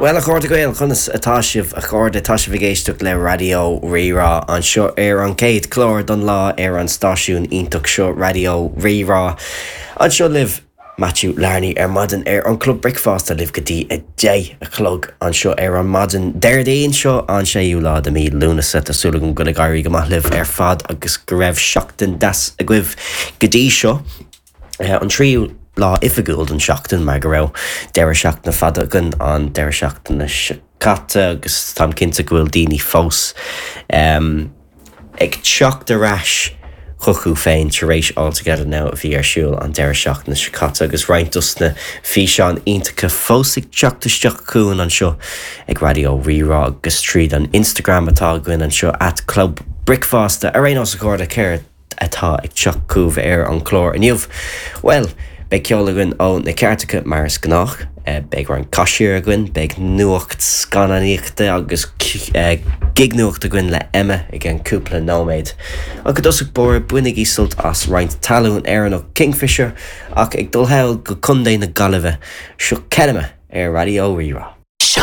Bhuel, a chairde Gael, conas atá sibh, a chairde? Tá sibh ag éisteacht le Raidió Rí-Rá anseo ar an chéad chlár don lá ar an stáisiún iontach seo, Raidió Rí-Rá. Anseo libh Matthew Larney ar maidin ar an Club Bricfeasta libh go dtí 10 a chlog anseo ar an maidin Déardaoin seo, an séú lá de mí Lúnasa. Tá súil agam go bhfuil ag éirí go maith libh ar fad agus go raibh seachtain deas agaibh go dtí seo. An tríú lá oifigiúil den seachtain mar go raibh deireadh seachtaine fada againn an deireadh seachtaine seo caite agus táim cinnte go bhfuil daoine fós ag teacht ar ais chucu féin tar éis All Together Now a bhí ar siúl an deireadh seachtaine seo caite agus roinnt dos na físeáin iontacha fós ag teacht isteach chugainn anseo ag Raidió Rí-Rá agus tríd an Instagram atá againn anseo at Club Bricfeasta. Ar aon nós a chairde, céard atá ag teacht chugaibh ar an chlár inniu? Bhuel, beidh ceol againn ó na cairteacha mar is gnách, beidh roinnt cashier againn, beidh nuacht scannánaíochta agus gignuacht againn le Emma i gceann cúpla nóiméad. Ach i dtosach báire, bainigí sult as roinnt talún Éireannach Kingfisher ach ag dul thall go Contae na Gaillimhe, seo Kenema ar Raidió Rí-Rá.